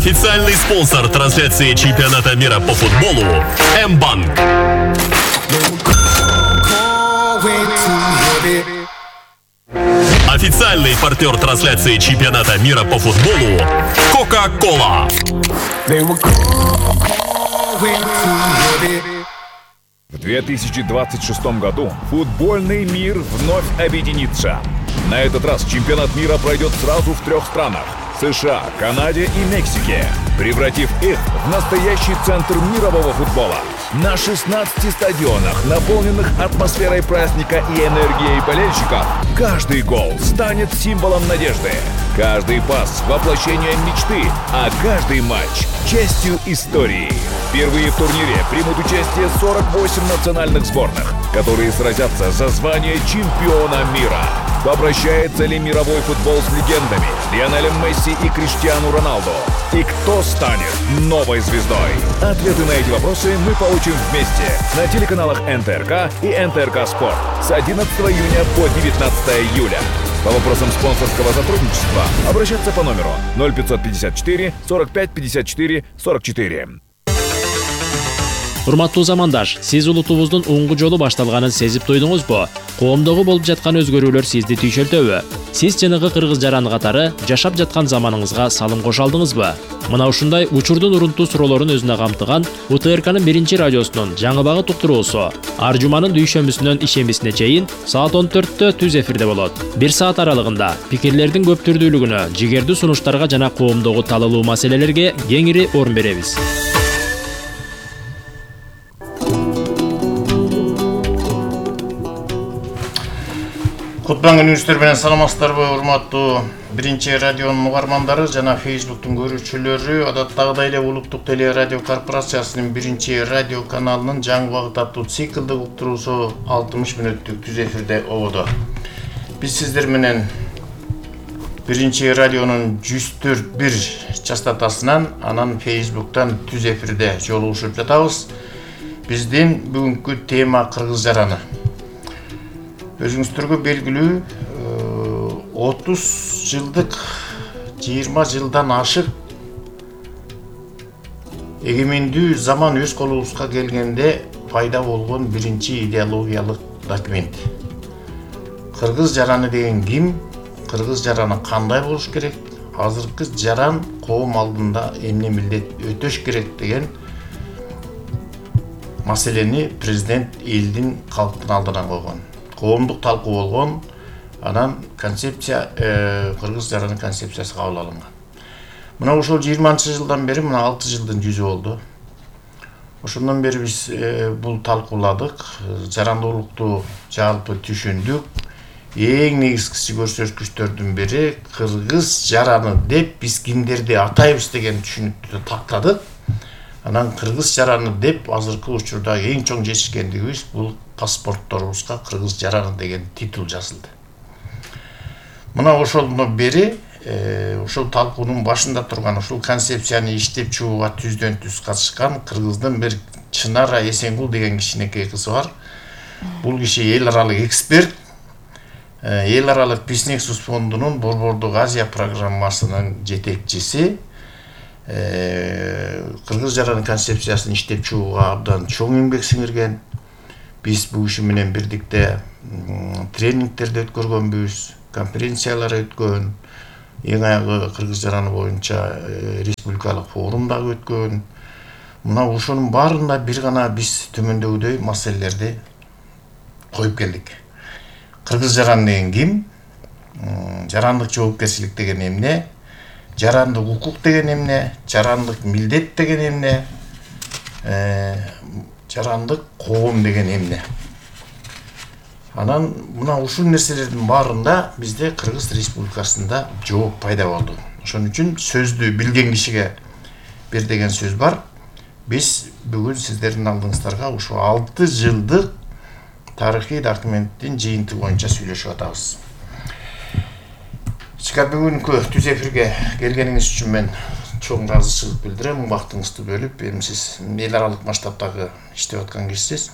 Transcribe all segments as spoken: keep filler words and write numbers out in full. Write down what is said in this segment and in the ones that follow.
Официальный спонсор трансляции чемпионата мира по футболу М-банк. Официальный партнер трансляции чемпионата мира по футболу Кока-Кола. В две тысячи двадцать шестом году футбольный мир вновь объединится. На этот раз чемпионат мира пройдет сразу в трех странах – США, Канаде и Мексике, превратив их в настоящий центр мирового футбола. На шестнадцати стадионах, наполненных атмосферой праздника и энергией болельщиков, каждый гол станет символом надежды, каждый пас – воплощением мечты, а каждый матч – частью истории. Впервые в турнире примут участие сорок восемь национальных сборных, которые сразятся за звание чемпиона мира. Попрощается ли мировой футбол с легендами Лионелем Месси и Криштиану Роналду? И кто станет новой звездой? Ответы на эти вопросы мы получим вместе на телеканалах эн тэ эр ка и эн тэ эр ка Спорт с одиннадцатого июня по девятнадцатое июля. По вопросам спонсорского сотрудничества обращаться по номеру ноль пятьсот пятьдесят четыре сорок пять пятьдесят четыре сорок четыре. Урматтуу замандаш, сиз улутубуздун оңгу жолу башталганын сезип туйдуңузбу? Коомдогу болуп жаткан өзгөрүүлөр сизди түйшөлтөбү? Сиз жанагы кыргыз жаран катары жашап жаткан заманыңызга салым кошо алдыңызбы? Мына ушундай учурдун урунтуу суроолорун өзүнө камтыган У Т Р К'нын биринчи радиосунун жаңы багыт уктуруусу ар жуманын дүйшөмбүсүнөн ишембисине чейин саат он төрттө түз эфирде болот. Бир саат аралыгында пикирлердин көп түрдүүлүгүнө, жигердүү сунуштарга жана коомдогу талалуу маселелерге кеңири орун беребиз. Кутман күнүңүздөр менен саламатсыздарбы, урматтуу биринчи радионун угармандары жана Фейсбуктун көрүүчүлөрү. Адаттагыдай эле Улуттук теле радио корпорациясынын биринчи радио каналынын жаңы багыт аттуу циклдык уктуруусу алтымыш мүнөттүк түз эфирде ободо. Биз сиздер менен биринчи радионун жүз төрт бир частотасынан, анан Фейсбуктан түз эфирде жолугушуп жатабыз. Биздин бүгүнкү тема кыргыз жараны. Өзүңүздөргө белгилүү отуз жылдык, жыйырма жылдан ашык эгемендүү заман өз колубузга келгенде пайда болгон биринчи идеологиялык документ. Кыргыз жараны деген ким? Кыргыз жараны кандай болуш керек? Азыркы жаран коом алдында эмне милдет өтөш керек деген маселени президент элдин калктын алдына койгон. Коомдук талкуу болгон, анан концепция, кыргыз жараны концепциясы кабыл алынган. Мына ошол жыйырманчы жылдан бери, мына алты жылдын жүзү болду. Ошондон бери биз бул талкууладык, жарандуулукту жалпы түшүндүк. Эң негизгиси көрсөткүчтөрдүн бири кыргыз жараны деп биз кимдерди атайбыз деген түшүнүктү тактадык. Анан кыргыз жараны деп азыркы учурда эң чоң жетишкендигибиз бул паспортторубузга кыргыз жараны деген титул жазылды. Мына ошондон бери ошол талкуунун башында турган, ошол концепцияны иштеп чыгууга түздөн түз катышкан кыргыздын бир Чынара Эсенгул деген кичинекей кызы бар. Бул киши эл аралык эксперт, эл аралык Бизнес фондунун Борбордук Азия программасынын жетекчиси. Кыргыз жараны концепциясын иштеп чыгууга абдан чоң эмгек сиңирген. Биз бул киши менен бирдикте тренингтерди өткөргөнбүз, конференциялар өткөн, эң аягы кыргыз жараны боюнча республикалык форум дагы өткөн. Мына ошонун баарында бир гана биз төмөндөгүдөй маселелерди коюп келдик. Кыргыз жараны деген ким? Жарандык жоопкерчилик деген эмне? Жарандык укук деген эмне? Жарандык милдет деген эмне? Жарандык коом деген эмне? Анан мына ушул нерселердин баарында бизде Кыргыз Республикасында жооп пайда болду. Ошон үчүн сөздү билген кишиге бир деген сөз бар. Биз бүгүн сиздердин алдыңыздарга ушу алты жылдык тарыхый документтин жыйынтыгы боюнча сүйлөшүп атабыз. Чыга бүгүнкү түз эфирге келгениңиз үчүн мен чоң ыраазычылык билдирем. Убактыңызды бөлүп, эми сиз эл аралык масштабтагы иштеп аткан кишисиз.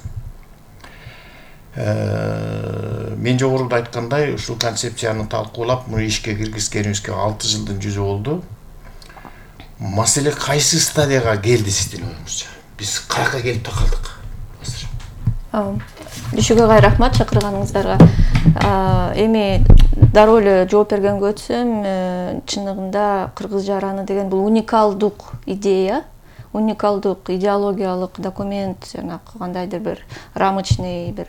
Мен жогоруда айткандай, ушул концепцияны талкуулап, муну ишке киргизгенибизге алты жылдын жүзү болду. маселе кайсы стадияга келди сиздин оюңузча? Биз каяка келип такалдык? Düşүүгө кай рахмат чакырганыңыздарга. Эми дароо эле жооп бергенге өтсөм, чыныгында кыргыз жараны деген бул уникалдык идея, уникалдык идеологиялык документ, жана кандайдыр бир рамочный бир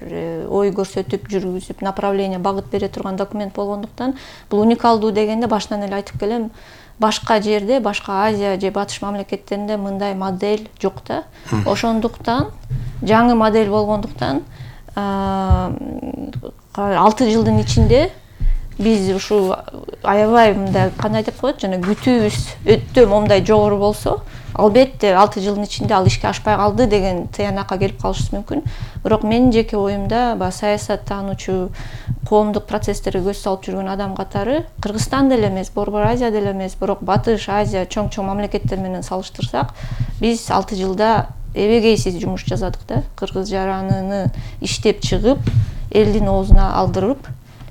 ой көрсөтүп, жүргүзүп, направление, багыт бере турган документ болгондуктан, бул уникалдуу дегенде башынан эле айтып келем, башка жерде, башка Азия же батыш мамлекеттеринде мындай модель жок да. Ошондуктан жаңы модель болгондуктан алты жылдын ичинде биз ушу аябай мындай кандай деп коет, жана күтүүбүз өтө момундай жогору болсо, албетте алты жылдын ичинде ал ишке ашпай калды деген тыянакка келип калышыбыз мүмкүн. Бирок менин жеке оюмда, ба саясаттануучу, коомдук процесстерге көз салып жүргөн адам катары Кыргызстан деле эмес, Борбор Азия деле эмес, бирок Батыш Азия чоң-чоң мамлекеттер менен салыштырсак, биз алты жылда эбегейсиз жумуш жасадык да. Кыргыз жараныны иштеп чыгып, элдин оозуна алдырып,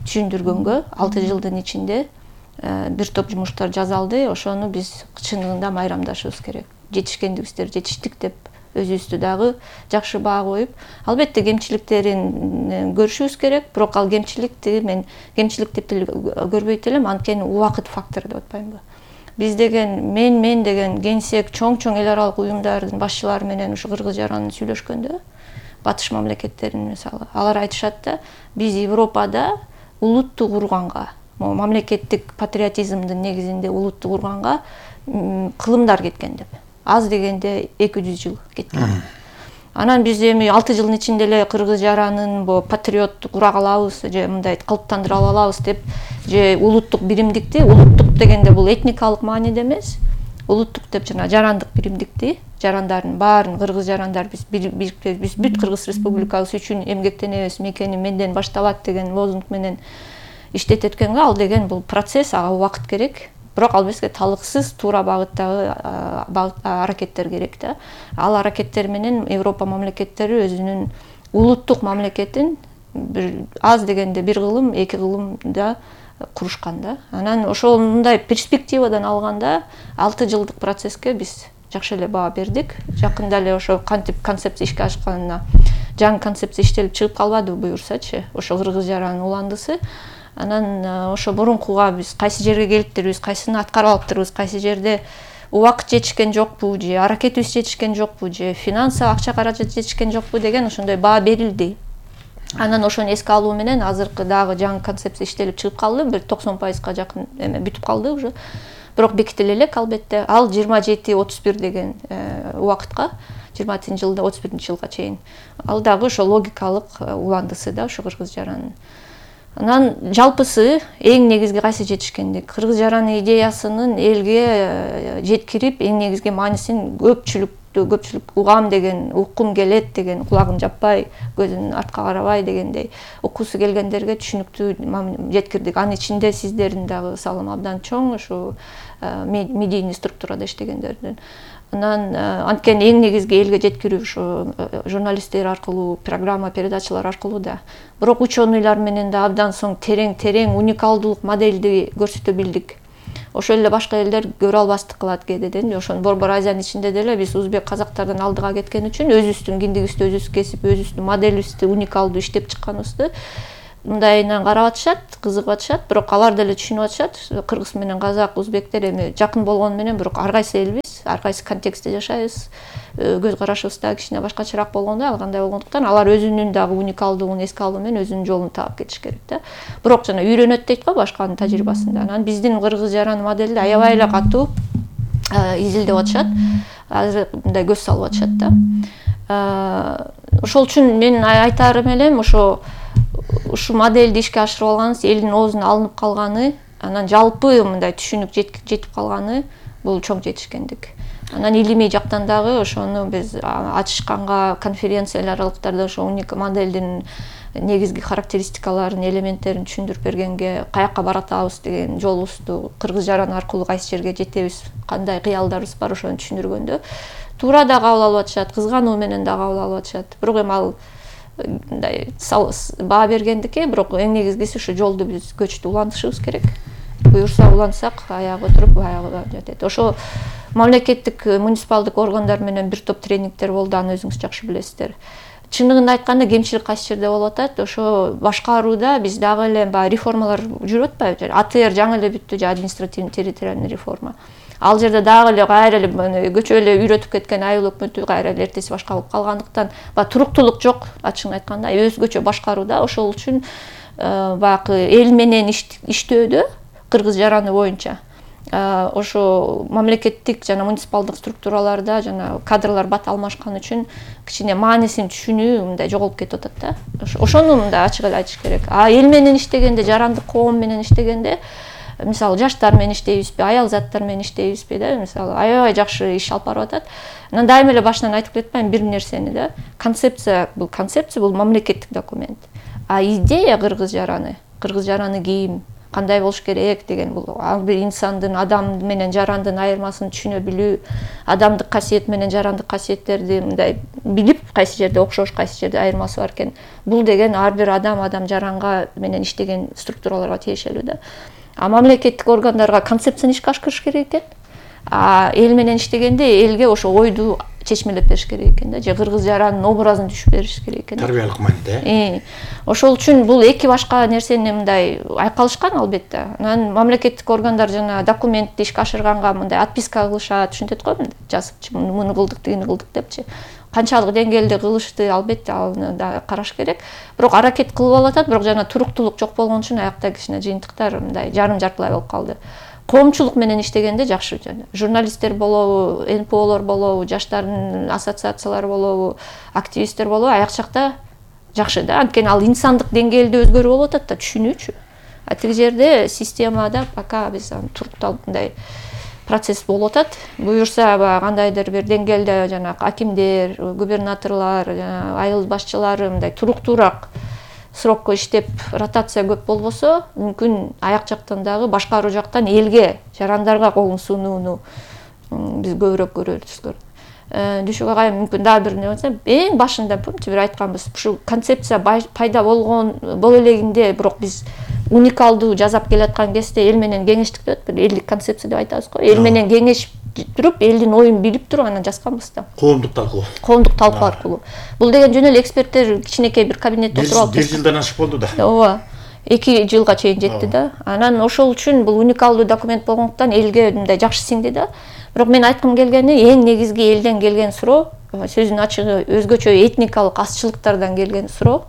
түшүндүргөнгө алты жылдын ичинде бир топ жумуштар жасалды. Ошону биз чынында майрамдашыбыз керек. Жетишкендигибизди жетиштик деп өзүбүздү дагы жакшы баа коюп, албетте кемчиликтерин көрүшүбүз керек, бирок ал кемчиликти мен кемчилик деп көрбөйт элем, анткени убакыт фактору деп атпаймынбы. Биз деген мен мен деген кеңсек чоң-чоң эл аралык уюмдардын башчылары менен ушу кыргыз жаранын сүйлөшкөндө, батыш мамлекеттерин мисалы, алар айтышат да, биз Европада улутту курганга, мамлекеттик патриотизмдин негизинде улутту курганга кылымдар кеткен деп. Аз дегенде эки жүз жыл кеткен. Анан биз эми алты жылдын ичинде эле кыргыз жаранын бу патриоттук кура алабыз, же мындай калыптандыра алабыз деп, же улуттук биримдикти, улуттук дегенде бул этникалык мааниде эмес, улуттук деп жана жарандык биримдикти, жарандардын баарын кыргыз жарандар биз биз бүт Кыргыз Республикасы үчүн эмгектенебиз, мекени менден башталат деген лозунг менен иштетип өткөнгө, ал деген бул процесс, ага убакыт керек. Бирок албетте талыксыз туура багыттагы аракеттер керек да. Ал аракеттер менен Европа мамлекеттери өзүнүн улуттук мамлекетин аз дегенде бир кылым, эки кылымда курушкан да. Анан ошондой перспективадан алганда алты жылдык процесске биз жакшы эле баа бердик. Жакында эле ошо кантип концепция ишке ашканына, жаңы концепция иштелип чыгып калбады буюрсачы, ошо кыргыз жаранын уландысы. Анан ошо мурункуга биз кайсы жерге келиптирбиз, кайсыны аткарып алыптырбыз, кайсы жерде убакыт жетишкен жокпу, же аракетибиз жетишкен жокпу, же финансы, акча каражат жетишкен жокпу деген ошондой баа берилди. Анан ошону эске алуу менен азыркы дагы жаңы концепция иштелип чыгып калды, бир токсон пайызга жакын эме бүтүп калды уже. Бирок бекитиле элек албетте. Ал жыйырма жети отуз бир деген убакытка, жыйырма алтынчы жылда отуз биринчи жылга чейин. Ал дагы ошо логикалык уландысы да ошо кыргыз жаранын. Анан жалпысы эң негизги кайсы жетишкендик? Кыргыз жараны идеясынын элге жеткирип, эң негизги маанисин көпчүлүктү, көпчүлүк угам деген, уккум келет деген, кулагын жаппай, көзүн артка карабай дегендей окуусу келгендерге түшүнүктүү жеткирдик. Анын ичинде сиздердин дагы салым абдан чоң, ушу медийный структурада иштегендердин. Анан анткени эң негизги элге жеткирүү ушу журналисттер аркылуу, программа, передачалар аркылуу да. Бирок ученыйлар менен да абдан соң терең-терең уникалдуулук моделди көрсөтө билдик. Ошол эле башка элдер көрө албастык кылат кээдеден. Ошон Борбор Азиянын ичинде деле биз узбек казактардан алдыга кеткен үчүн өзүбүздүн киндигибизди өзүбүз кесип, өзүбүздүн моделибизди уникалдуу иштеп чыкканыбызды мындайынан карап атышат, кызыгып атышат, бирок алар деле түшүнүп атышат. Кыргыз менен казак, узбектер эми жакын болгону менен, бирок ар кайсы элбиз, ар кайсы контекстте жашайбыз. Көз карашыбыз да кичине башкачараак болгондо, ал кандай болгондуктан алар өзүнүн дагы уникалдуулугун эске алуу менен өзүнүн жолун таап кетиш керек да. Бирок жана үйрөнөт дейт го башканын тажрыйбасында. Анан биздин кыргыз жараны моделди аябай эле катуу изилдеп атышат. Азыр мындай көз салып атышат да. Ошол үчүн мен айтарым элем, ошо ушу модельди ишке ашырып алганыбыз, элдин оозуна алынып калганы, анан жалпы мындай түшүнүк жетип калганы бул чоң жетишкендик. Анан илимий жактан дагы ошону биз ачышканга, конференциялар аралыктарда ошо уник модельдин негизги характеристикаларын, элементтерин түшүндүрүп бергенге, каякка баратабыз деген жолубузду, кыргыз жараны аркылуу кайсы жерге жетебиз, кандай кыялдарыбыз бар, ошону түшүндүргөндө туура да кабыл алып атышат, кызгануу менен да кабыл алып атышат. Бирок эми ал мындай баа бергендикке, бирок эң негизгиси ушу жолду биз көчтү улантышыбыз керек. буюрса улантсак аягы туруп баягы жетет. Ошо мамлекеттик муниципалдык органдар менен бир топ тренингдер болду, аны өзүңүз жакшы билесиздер. Чынын айтканда кемчилик кайсы жерде болуп атат, ошо башкарууда биз дагы эле баягы реформалар жүрүп атпайбы? АТР жаңы эле бүттү, административный территориальный реформа. Ал жерде дагы эле кайра эле көчө эле үйрөтүп кеткен айыл өкмөтү кайра эле эртеси башка болуп калгандыктан баягы туруктуулук жок, ачыгын айтканда, өзгөчө башкарууда. Ошол үчүн баягы эл менен иштөөдө кыргыз жараны боюнча ошо мамлекеттик жана муниципалдык структураларда жана кадрлар бат алмашкан үчүн кичине маанисин түшүнүү мындай жоголуп кетип атат да. Ошону мындай ачык эле айтыш керек. А эл менен иштегенде, жарандык коом менен иштегенде, мисалы жаштар менен иштейбизби, аял заттар менен иштейбизби да, мисалы аябай жакшы иш алып барып атат. Анан дайыма эле башынан айтып кетпайм бир нерсени да. Концепция, бул концепция бул мамлекеттик документ. А идея кыргыз жараны, кыргыз жараны кийим, кандай болуш керек деген бул ар бир инсандын, адам менен жарандын айырмасын түшүнө билүү, адамдык касиет менен жарандык касиеттерди мындай билип, кайсы жерде окшош, кайсы жерде айырмасы бар экен. Бул деген ар бир адам, адам жаранга менен иштеген структураларга тиешелүү да. А мамлекеттик органдарга концепцияны ишке ашырыш керек экен. А эл менен иштегенде элге ошо ойду чечмелеп бериш керек экен да, же кыргыз жаранын образын түшүп бериш керек экен. Тарбиялык мааниде. Э. Ошол үчүн бул эки башка нерсени мындай айкалышкан албетте. Анан мамлекеттик органдар жана документти ишке ашырганга мындай отписка кылышат, түшүнүп го, жазыпчы муну кылдык, тигини кылдык депчи. Канчалык деңгээлде кылышты, албетте аны да караш керек. Бирок аракет кылып алатат, бирок жана туруктуулук жок болгон үчүн аякта кичине жыйынтыктар мындай жарым-жартылай болуп калды. Коомчулук менен иштегенде жакшы, журналисттер болобу, эн пэ олор болобу, жаштардын ассоциациялары болобу, активисттер болобу, аяк жакта жакшы да. Анткени ал инсандык деңгээлде өзгөрүү болуп атат да, түшүнүүчү. А тиги жерде системада пока биз турукталып мындай процесс болуп атат. Буюрса кандайдыр бир деңгээлде жана акимдер, губернаторлор, жана айыл башчылары мындай туруктуураак срокко иштеп, ротация көп болбосо, мүмкүн аяк жактан дагы башкаруу жактан элге, жарандарга колун сунууну биз көбүрөөк көрөбүз. Düşүп агай мүмкүн дагы бир не болсо, эң башында помните бир айтканбыз, ушу концепция пайда болгон боло элегинде, бирок биз уникалдуу жасап келаткан кезде эл менен кеңештик деп, элдик концепция деп айтабыз го. Эл менен кеңешип туруп, элдин оюн билип туруп анан жазганбыз да. Коомдук талкуу. Коомдук талкуу аркылуу. Бул деген жөн эле эксперттер кичинекей бир кабинетте отуруп алып. бир жылдан ашык болду да. Ооба. эки жылга чейин жетти да. Анан ошол үчүн бул уникалдуу документ болгондуктан элге мындай жакшы сиңди да. Бирок мен айткым келгени, эң негизги элден келген суроо, сөздүн ачыгы өзгөчө этникалык азчылыктардан келген суроо.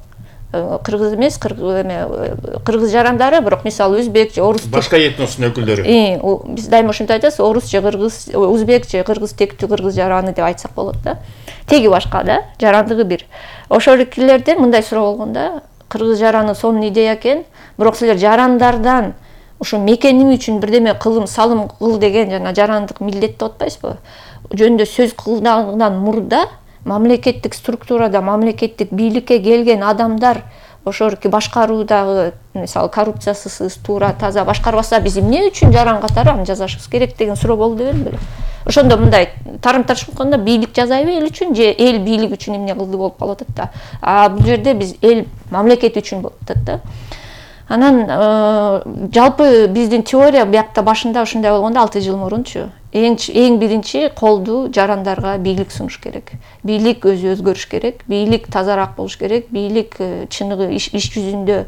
Кыргыз эмес, кыргыз жарандары, бирок мисалы өзбек же орус башка этностун өкүлдөрү. Э, биз дайыма ушинтип айтабыз, орус же кыргыз, өзбек же кыргыз тектүү кыргыз жараны деп айтсак болот да. Теги башка да, жарандыгы бир. Ошол килерден мындай суроо болгондо, кыргыз жараны сонун идея экен, бирок силер жарандардан ушу мекениң үчүн бирдеме кылым, салым кыл деген жана жарандык милдет деп атпайсызбы? Жөнүндө сөз кылгандан мурда мамлекеттик структурада, мамлекеттик бийликке келген адамдар ошорки башкаруудагы, мисалы коррупциясыз, туура, таза башкарбаса, биз эмне үчүн жаран катары аны жасашыбыз керек деген суроо болду дебелим беле. Ошондо мындай тарым-тарыш болгондо бийлик жасайбы эл үчүн же эл бийлик үчүн эмне кылды болуп калып атат да. А бул жерде биз эл мамлекет үчүн болуп атат да. Анан жалпы биздин теория биякта башында ушундай болгондо алты жыл мурунчу. Эң эң биринчи колду жарандарга бийлик сунуш керек. Бийлик өзү өзгөрүш керек, бийлик тазараак болуш керек, бийлик чыныгы иш жүзүндө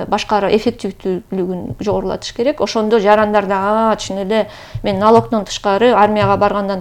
башкара эффективдүүлүгүн жогорулатыш керек. Ошондо жарандар да чын эле мен налогдон тышкары, армияга баргандан